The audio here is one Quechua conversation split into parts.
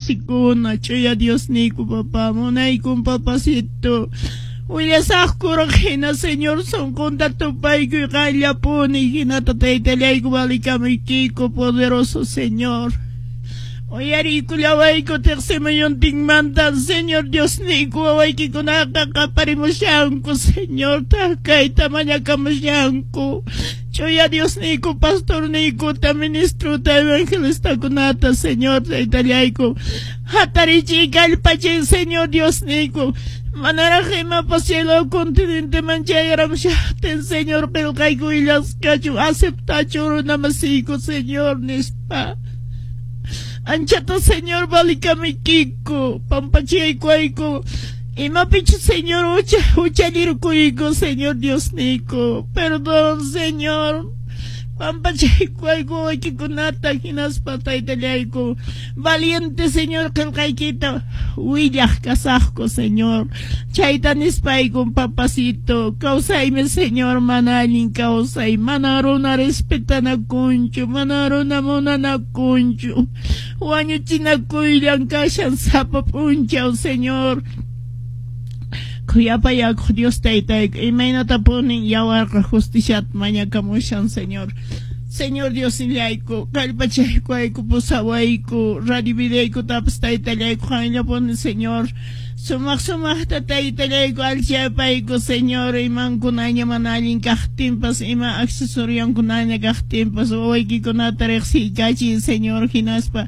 wasikuna, ch'uya Diosniyku papá, munaykun papacito. Willasaqkuraq hina Señor sunqunta tupaykuy qanllapuni, hinata taytallayku valikamuykiku, poderoso Señor. Uyariykullawayku teqsimuyuntinmanta, Señor Diosniyku wawaykikunaqa qaparimushanku, Señor, kayta mañakamushanku. Ch'uya Diosniyku pastorniykuta, ministruta, evangelistakunata, Señor, taytallayku. Hatarichiy kallpachiy, Señor Diosniyku. Manaraq imapas cielo continenteman chayaramushaqtin, Señor, qillqayku willasqachu, aceptachu runamasiyku, Señor, nispa. Anchata, Señor, valikamuykiku, pampachaykuwayku. Imapichu, Señor, huchallirkuyku, Señor Diosniyku. Perdón, Señor. Pampachaykuwayku wawaykikunata hinaspa taytallayku. Valiente, Señor, qillqaykita willaq kasaqku, Señor. Chayta nispayku, papacito, kawsaymi, Señor, mana allin kawsay, mana runa respetanakunchu, mana runa munanakunchu. Wañuchinakuyllan kashan sapa p'unchaw, Señor. Khuyapayakuq Dios taytayku, imaynatapunin yawarqa justiciata mañakamushan, Señor. Señor Diosnillayku, kallpachaykuwayku, pusawayku, radio videoykutapas taytallayku qanllapuni, Señor. Sumaq sumaqta taytallayku alchapayku, Señor, imankunaña mana allin kaqtinpas, ima accesorionkunaña kaqtinpas, wawaykikunata riqsiykachiy, Señor, hinaspa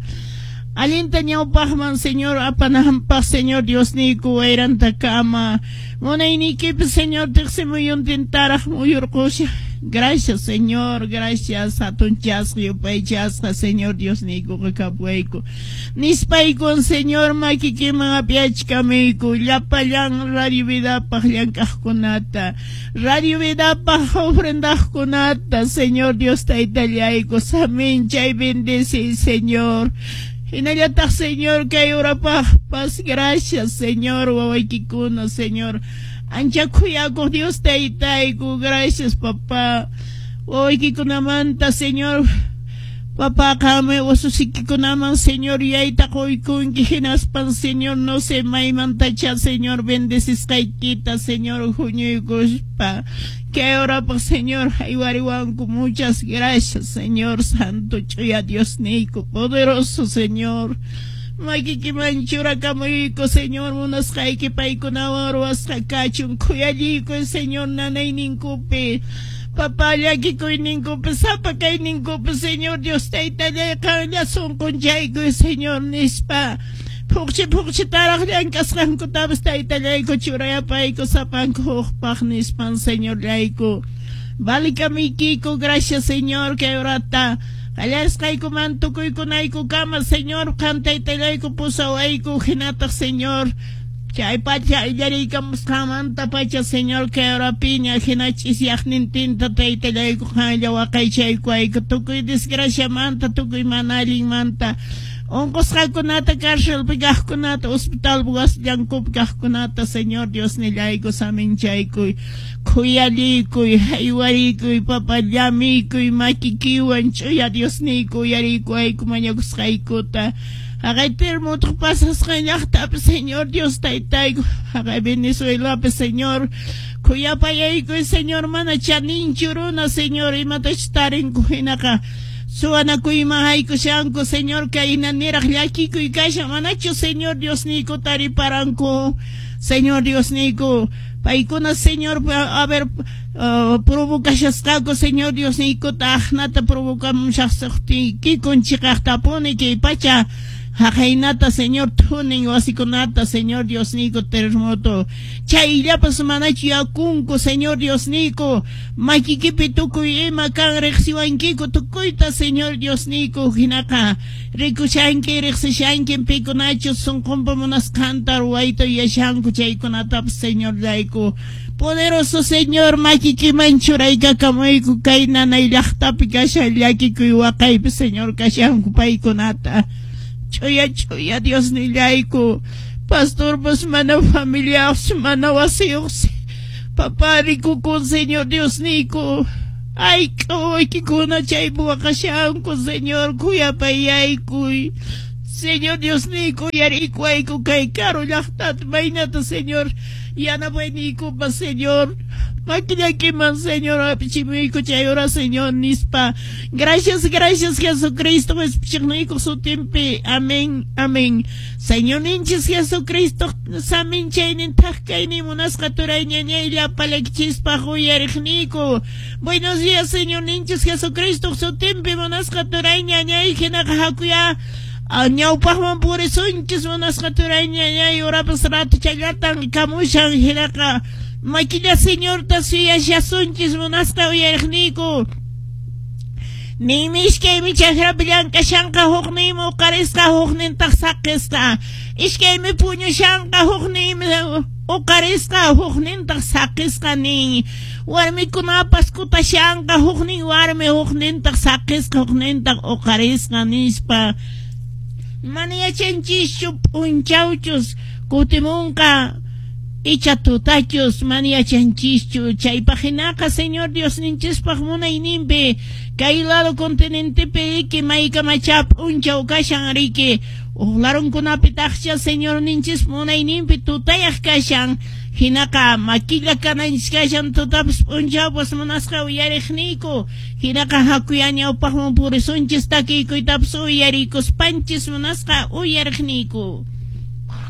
allinta ñawpaqman, Señor, apananpaq, Señor Diosniyku wayrantakama. Munayniykipi, Señor, teqsimuyuntintaraq muyurqusha. Gracias, Señor, gracias, hatunchasqa, yupaychasqa, Señor Diosniykuqa kapuwayku. Nispaykun, Señor, makikiman apyachkamuyku llapallan Radio Vidapaq llank'aqkunata, Radio Vidapaq ofrendaqkunata, Señor Dios taytallayku, saminchay bendeciy, Señor. Hinallataq, Señor, kay urapaqpas, gracias, Señor, wawaykikuna, Señor. Ancha khuyakuq Dios taytayku, gracias, papá. Wawaykikunamanta, Señor, papá, qanmi ususikikunaman, Señor, yayta quykunki, hinaspan, Señor, no sé maymantacha, Señor, bendecisqaykita, Señor, huñuykuspa. Kay horapaq, Señor, haywariwanku, muchas gracias, Señor, Santo, ch'uya Diosniyku, poderoso, Señor. Makikiman churakamuyku, Señor, munasqayki paykunawan ruwasqa kachun, khuyalliykuy, Señor, nanayninkupi, papá, llakikuyninkupi, sapa kayninkupi, Señor Dios taytallay, qanlla sunqunchaykuy, Señor, nispa. Phuqchi phuqchitaraq llank'asqankutapas taytallayku churayapayku sapanku hukpaq nispan, Señorllayku. Valikamuykiku, gracias, Señor, kay horata. Qallarisqaykuman tukuykunaykukama, Señor, qan taytallayku pusawayku, hinataq, Señor, chay pacha illariykamusqanmanta pacha, Señor, kay horapiña hina ch'isyaqnintinta taytallayku qanlla waqaychaykuwayku tukuy desgraciamanta, tukuy mana allinmanta. Unqusqakunata, cárcelpi kaqkunata, hospitalpi wasillankupi kaqkunata, Señor Diosnillayku saminchaykuy, khuyalliykuy, haywariykuy, papá, llamiykuy, makikiwan, ch'uya Diosniyku uyariykuwayku mañakusqaykuta. Haqay terremotoq pasasqan llaqtapi, Señor Dios taytayku, haqay Venezuelapi, Señor, khuyapayaykuy, Señor, mana chaninchu runa, Señor, imatachus tarinku hinaqa suwanakuyman haykushanku, Señor, kayna niraq llakikuy kashan, manachu, Señor Diosniyku tariparanku, Señor Diosniyku, paykuna, Señor, a ver, provocashasqaku, Señor Diosniykuta aqnata provocamushaqtiykikun chiqaqtapuni kay pacha haqaynata, Señor, thunin wasikunata, Señor Diosniyku, terremoto. Chayllapas manachu yakunku, Señor Diosniyku, makikipi tukuy ima kan riqsiwankiku tukuyta, Señor Diosniyku, hinaqa rikushanki, riqsishanki pikunachus sunqunpa munasqanta ruwayta yuyashanku chaykunatapas, Señorllayku. Poderoso Señor, makikiman churaykakamuyku kay nanay llaqtapi kashan llakikuy waqaypi, Señor, kashanku paykunata. Ch'uya ch'uya Diosnillayku, pastorpas mana familiayuqsi, mana wasiyuqsi, papá, rikukun, Señor Diosniyku. Ayk'a wawaykikuna chaypi waqashanku, Señor, khuyapayaykuy. Señor Diosniyku, uyariykuwayku kay karu llaqtata, maynata, Señor, yanapayniykupas, Señor. Makillakiman, Señor, apichimuyku chay hora, Señor, nispa. Gracias, gracias, Jesucristo, qespichiqniykuq sutinpi. Amén, amén. Señorninchis Jesucristo, saminchaynin thak kaynin munasqa turay ñañay llapallaykichispaq uyariqniyku. Buenos días, Señorninchis Jesucristo, sutinpi munasqa turay ñañay, hinaqa hakuya ñawpaqman purisunchis munasqa turay ñañay, horapas ratuchallatan kamushan, hinaqa makilla Señorta suyashasunchis munasqa uyariqniyku. Ninmi iskaymi chakrapi llank'ashanqa, hukninmi uqarisqa, huknintaq saqisqa. Iskaymi puñushanqa, hukninmi uqarisqa, huknintaq saqisqa nin. Warmikunapas kutashanqa, huknin warmi, huknintaq saqisqa, huknintaq uqarisqa nispa. Mana yachanchischu p'unchawchus kutimunqa icha tutachus, mana yachanchischu. Chaypaq hinaqa Señor Diosninchispaq munayninpi kay lado continentepi riki maykamachá p'unchaw kashan riki. Huk larunkunapitaqcha Señorninchis munayninpi tutayaq kashan. Hinaqa makilla kananchis kashan tutapas p'unchawpas munasqa uyariqniyku. Hinaqa hakuya ñawpaqman purisunchis takiykuytapas uyarikuspanchis munasqa uyariqniyku.